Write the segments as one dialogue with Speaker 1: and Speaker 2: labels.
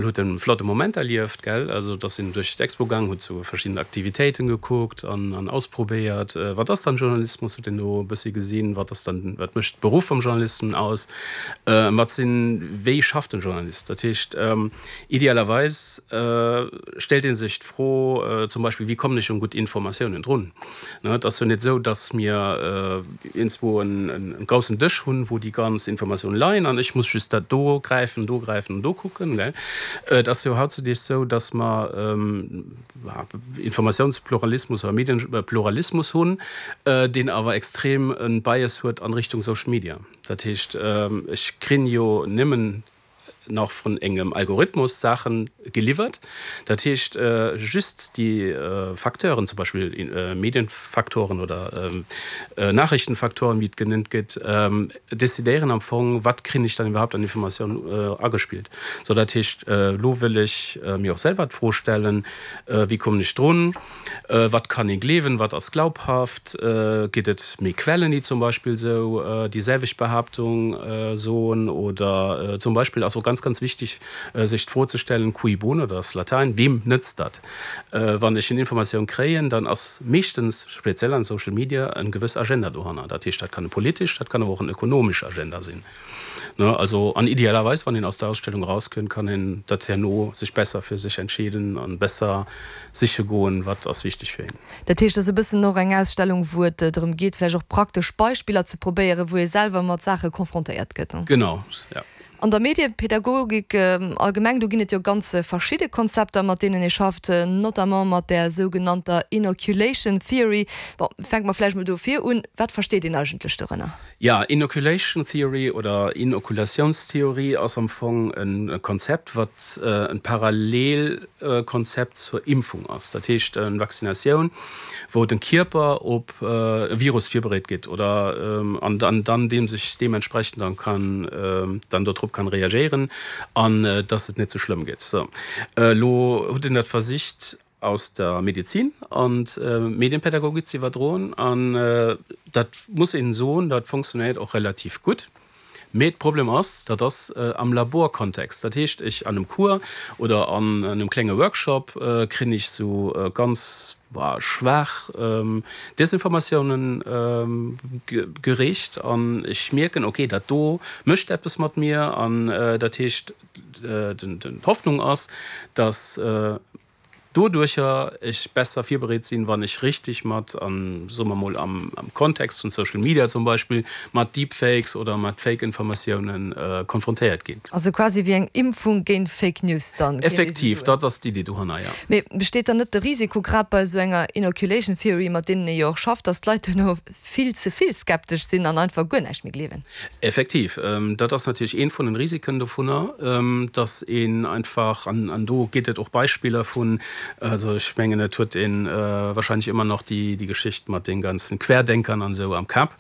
Speaker 1: Huet en flotte Moment erlieft, gell? Also et ass een duerch d'Expo gaang, huet sou verschidden Aktivitéiten gekuckt an an ausprobéiert. Wat ass dann Journalismus, huet een do e bëssi gesinn. Wat ass dann, wat mécht de Beruff vum Journalisten aus? Wat sinn, wéi schafft en Journalist? Dat heescht, idealerweis stellt ee sech d'Fro zum Beispill, wéi kommen ech un gutt Informatiounen drun? Et ass jo net esou, datt mir iergendzwou en groussen Dësch hunn, wou déi ganz Informatiounen leien an ech muss just dat do gräifen, do gräifen an do kucken. Et ass jo hautzudeeg esou, datt mer Informatiounspluralismus oder Medienpluralismus hunn, deen awer extrem e Bias huet an Richtung Social Media. Dat heescht, ech krin jo nëmmen nach vun engem Algorithmus Saachen geliwwert. Dat heescht, just déi Facteuren, zum Beispill Medienfaktoren oder Nachrichtenfaktoren, wéi et genannt gëtt, decidéieren am Fong, wat krin ech dann iwwerhaupt an Informatioun agespillt. Sou, dat heescht, elo wëll ech mir och selwer d'Fro stellen, Wéi kommen ech drun? Wat kann ee gleewen? Wat ass glaubhaft? Gitt et méi Quellen, déi zum Beispill esou déi selwecht Behaaptung soen? Oder zum Beispill ass och ganz, ganz wichtig, sech d'Fro ze stellen, cui bono, dat ass Latäin, weem nëtzt dat? Wann ech en Informatioun kréien, dann ass meeschtens, speziell an Social Media, en gewëss Agenda dohanner. Dat heescht, dat kann e politesch, dat kann awer och en ökonomesch Agenda sinn. Ne, also an idealerweis, wann een aus der Ausstellung erauskënnt, kann een dat herno sech besser fir sech entscheeden an besser siche goen, wat ass wichteg fir een.
Speaker 2: Dat heescht, et ass e bëssen och eng Ausstellung, wou et drëm geet, vläicht och praktesch Beispiller ze probéieren, wou ee selwer mat Saache confrontéiert gëtt.
Speaker 1: Genau, ja.
Speaker 2: An der Mediepädagogik allgemeng, do ginn et jo ganz verschidde Konzepter, mat deenen ee schafft, notamment mat där sougenannter Inoculation Theory. Bon, fänke mer vläicht mol do vir un, Wat versteet een eigentlech dorënner?
Speaker 1: Jo, Inoculation Theory oder Inokulatiounstheorie ass am Fong e Konzept, wat e Parallelkonzept zur Impfung ass. Dat heescht eng Vaccinatioun, wou den Kierper op e Virus virbereet gëtt oder an dann deem sech deementsprechend dann kann dann dodrop kann reagéieren an dass et net sou schlëmm gëtt. Sou, elo hutt een dat versicht aus der Medizin an d'Medienpädagogik ze iwwerdroen an dat muss een soen, dat funktionéiert och relativ gutt. Mee d'Problem ass, dat ass am Laborkontext. Dat heescht, ech an einem Cours oder an engem klenge Workshop krin ech sou ganz schwaach Desinformatiounen gereecht an ech mierken, okay, dat do mécht eppes mat mir an dat heescht, D'Hoffnung ass, dass doduercher ech besser virbereet sinn, wann ech richtig mat, an soe mer mol am Kontext vun Social Media zum Beispill, mat Deepfakes oder mat Fake-Informatiounen konfrontéiert ginn.
Speaker 2: Also quasi wéi eng Impfung géint Fake News dann,
Speaker 1: kéint ee sou soen? Effektiv, dat ass d'Iddi dohanner, jo.
Speaker 2: Mee besteet dann net de Risiko, grad bei esou enger Inoculation Theory, mat deenen ee jo och schafft, dass d'Leit duerno vill ze vill skeptesch sinn an einfach guer näischt méi gleewen.
Speaker 1: Effektiv, dat ass natierlech eent vun den Risiken dovunner, dass een einfach, an do gétt et och Beispiller vun, also ech mengen et huet ee wahrscheinlech ëmmer nach déi Geschicht mat de ganzen Querdenkern an esou am Kap,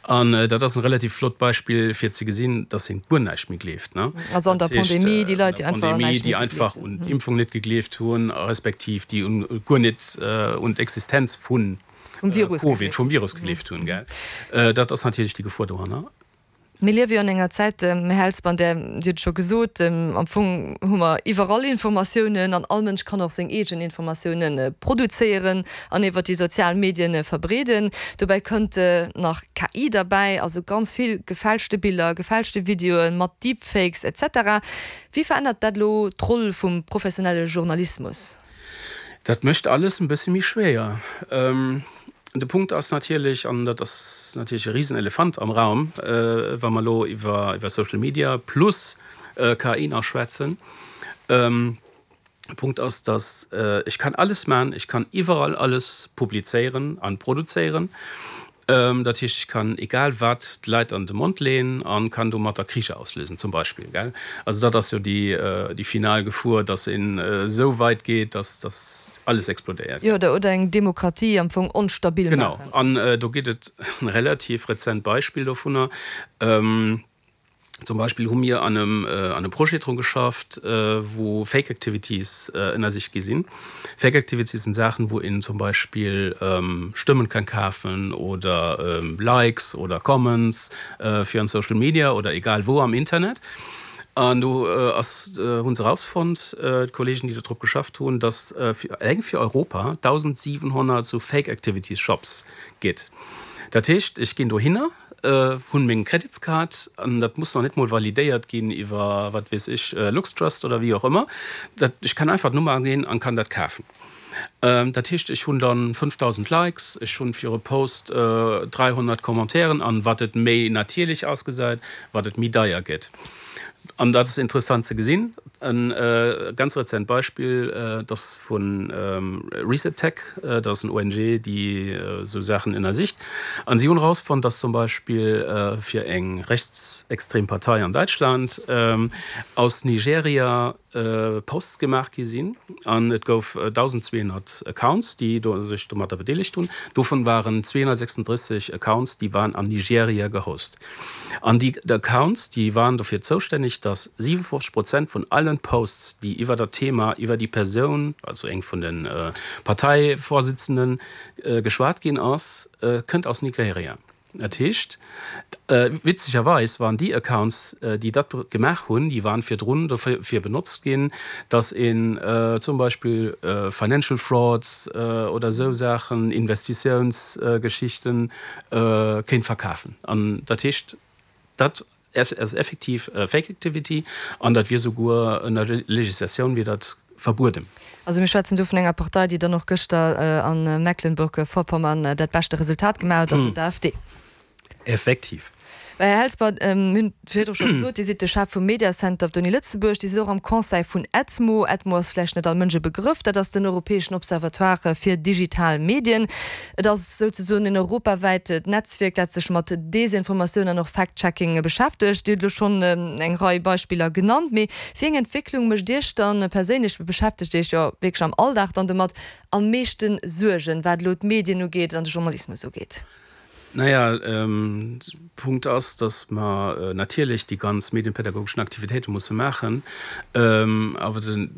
Speaker 1: an dat ass en relativ flott Beispill fir ze gesinn, dass een guer näischt méi gleeft.
Speaker 2: Also an der Pandemie, déi Leit, déi einfach
Speaker 1: un näischt méi gegleeft hunn. Déi einfach un d'Impfung net gegleeft hunn, respektiv déi guer net un d'Existenz vun
Speaker 2: Vum Virus
Speaker 1: Covid, gegleeft. Vum Virus gegleeft hunn, gell. Dat ass natierlech déi Gefor dohanner.
Speaker 2: Mir liewe jo an enger Zäit, Här Helsper, an där, Dir hutt et scho gesot, am Fong hu mer iwwerall Informatiounen an all Mënsch kann och seng eegen Informatiounen produzéieren an iwwert déi sozial Medien verbreeden. Dobäi kënnt nach KI derbäi, also ganz vill gefälschte Biller, gefälschte Videoen mat Deepfakes et cetera. Wéi verännert dat elo d'Roll vum professionelle Journalismus?
Speaker 1: Dat mécht alles en bësse méi schwéier. De Punkt ass natierlech, an dat ass natierlech e Risenelefant am Raum, wa mer elo iwwer Social Media plus KI nach schwätzen, de Punkt ass, datt ech kann alles maachen, ech kann iwwerall alles publizéieren an produzéieren. Dat heescht, ech kann egal wat d'Leit an de Mond leeën a kann domatter Kricher auslösen zum Beispill, gell. Also dat ass jo déi final Gefor, datt een esou weit geet, datt datt alles explodéiert.
Speaker 2: Jo, oder oder eng Demokratie am Fong onstabil
Speaker 1: maachen. Genau, an do gétt et e relativ rezent Beispill dovunner. Zum Beispill hu mir an engem Projet dru geschafft, wou Fake Activities ënnersicht gi sinn. Fake Activities sinn Saachen, wou een zum Beispill Stëmmen kann kafen oder Likes oder Comments fir an Social Media oder egal wou am Internet. An do ass, hu se erausfonnt, d'Kollegen, déi do drop geschafft hunn, datt eleng fir Europa 1.700 esou Fake Activities Shops gitt. Dat heescht, ech ginn dohinner, hunn meng Kreditskaart, an dat muss nach net mol validéiert ginn iwwer, wat weess ech, LuxTrust oder wéi och ëmmer, dat, ech kann einfach d'Nummer aginn an kann dat kafen. Dat heescht, ech hunn dann 5.000 Likes, ech hunn fir e Post 300 Commentairen an wat et méi natierlech ausgesäit, wat et méi deier gëtt. An dat ass interessant ze gesinn. E ganz rezent Beispill, dat ass vu Reset Tech, dat ass en ONG, déi esou Saachen ënnersicht. An si hunn erausfonnt, dass zum Beispill fir eng rechtsextrem Partei an Däitschland aus Nigeria, Posts gemaach gi sinn an et gouf 1.200 Accounts, déi sech domatter bedeelegt hunn. Dovun waren 236 Accounts, déi waren an Nigeria gehost. An déi Accounts, déi waren dofir zoustänneg, datt 57 Prozent vun allen Posts, déi iwwer dat Thema, iwwer déi Persoun, also eng vun de Parteivorsitzenden, geschwat ginn ass, kënnt aus Nigeria. Dat heescht, witzegerweis waren déi Accounts, déi dat gemaach hunn, déi waren virdrun dofir benotzt ginn, datt een zum Beispill Financial Frauds oder esou Saachen, Investitiounsgeschichten kéint verkafen. An dat heescht, dat ass effektiv Fake Activity an dat wier souguer ënner Legislatioun wier dat verbueden.
Speaker 2: Also mir schwätzen do vun enger Partei, déi dann och gëschter a Mecklenburg-Vorpommern dat beschte Resultat gemaach huet, also d'AfD.
Speaker 1: Effektiv.
Speaker 2: Här Helsper, mir hunn virdru scho gesot, Dir sidd de Chef vum Mediacenter op der Uni Lëtzebuerg. Dir sidd och am Conseil vun EDMO. EDMO ass vläicht net all Mënsch e Begrëff. Dat ass den europäeschen Observatoire fir digital Medien. Et ass souzesoen en europawäit Netzwierk, dat sech mat Desinformatioun an och Fact-Checking beschäftegt. Dir hutt elo schonn eng Rei Beispiller genannt. Mee wéi eng Entwécklung mécht Iech dann perséinlech, Dir beschäftegt Iech jo wierklech am Alldag dann domat, am meeschte Suergen, wat elo d'Medien ugeet an de Journalismus ugeet?
Speaker 1: Naja, Punkt ass, datt mer natierlech déi ganz medienpädagogeschen Aktivitéite musse maachen, awer de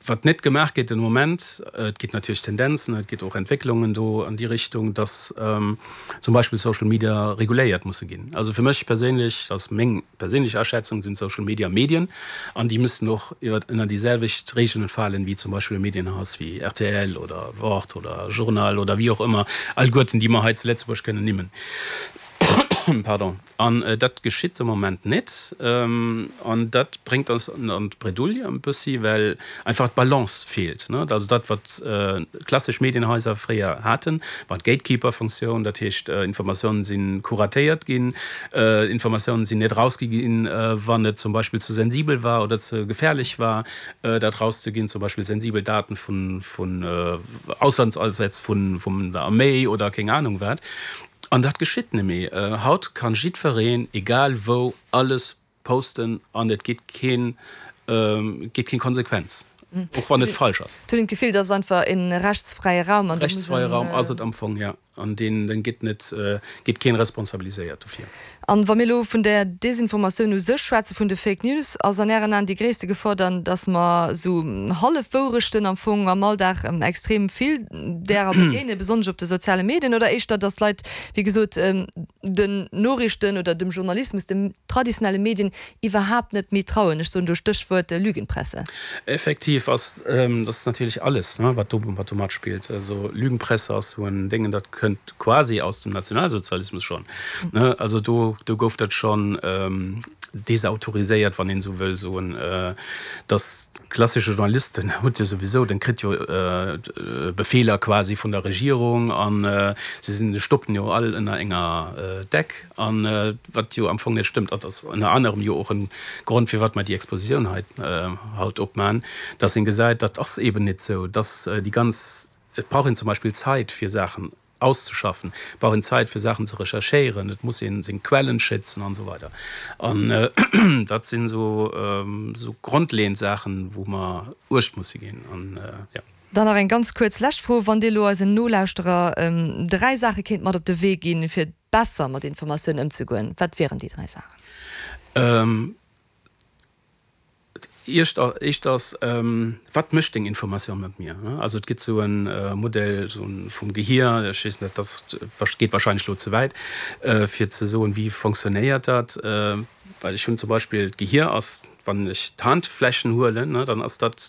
Speaker 1: Wat net gemaach gétt den Moment, et gétt natierlech Tendenzen, et gétt och Entwécklungen do an déi Richtung, dass zum Beispill Social Media reguléiert musse ginn. Also fir mech perséinlech, dat ass meng perséinlech Aschätzung, sinn Social Media Medien an déi müssen och iwwer ënner déi selwecht Regeln falen wéi zum Beispill e Medienhaus wéi rtl oder Wort oder Journal oder wéi och ëmmer, alleguerten déi mer hei zu Lëtzebuerg kënnen nimmen. Pardon. An dat geschitt de Moment net. An dat bréngt eis an d'Bredouille e bëssi, well einfach d'Balance feelt. Also dat, wat klassesch Medienhaiser fréier haten, war d'Gatekeeper-Funktioun. Dat heescht, Informatiounen si kuratéiert ginn, Informatiounen sinn net erausgi ginn, wann et zum Beispill ze sensibel war oder ze gefährlech war, dat erauszeginn, zum Beispill sensibel Daten vun Auslandsasätz vun der Arméi oder keng Anung wat. An dat geschitt nemmi. Haut kann jiddfereen, egal wou, alles posten an et gitt keen, gitt keng Konsequenz, och wann et falsch ass.
Speaker 2: Et huet een d'Gefill, et ass einfach een rechtsfräie Raum
Speaker 1: an do muss een. Rechtsfräie Raum ass et am Fong, jo. An deen, deen gitt net, gitt keen responsabiliséiert dofir.
Speaker 2: An wa mir elo vun der Desinformatioun u sech schwätzen, vun de Fake News, ass an Ären Aen déi gréisste Gefor dann, dass mer esou Hallefwourechten am Fong am Alldag extrem vill därer begéinen, besonnesch op de soziale Medien, oder éischter, dass d'Leit, wéi gesot, den Noriichten oder dem Journalismus, den traditionelle Medien iwwerhaapt net méi trauen? Ech soen do Stéchwuert Lügenpresse.
Speaker 1: Effektiv ass dat natierlech alles, wat do wat do matspillt. Also Lügenpresse ass esou en Déngen, dat kënnt quasi aus dem Nationalsozialismus schonn. Also do do gouf dat schonn desautoriséiert, wann een esou wëll soen, dass klassesche Journalist, den huet jo souwisou, den kritt jo Befeeler quasi vun der Regierung an se sinn, stoppen jo all ënner enger Deck an wat jo am Fong net stëmmt. Dat ass ënner anerem jo och en Grond firwat mer déi Expositioun hei haut opman, dass een gesäit, dat ass eben net sou, dass déi ganz, et brauch een zum Beispill Zait fir Saachen auszeschaffen, et brauch een Zait fir Saachen ze recherchéieren, et muss een seng Quellen schützen an esou weider. An dat sinn esou esou grondleeënd Saachen, wou mer uecht musse ginn an jo.
Speaker 2: Dann nach eng ganz kuerz lescht Fro, Wann Dir elo eisen Nolauschterer dräi Saache kéint mat op de Wee ginn, fir besser mat Informatioun ëmzegoen, wat wieren déi dräi Saachen?
Speaker 1: Éischt ass, Wat mécht deng Informatioun mat mir? Also et gëtt esou e Modell vum Gehier, ech weess net, dat geet wahrscheinlech elo ze wäit, fir ze soen, wéi fonctionnéiert dat. Well ech hunn zum Beispill, d'Gehier ass, wann ech d'Handflächen huelen, dann ass dat.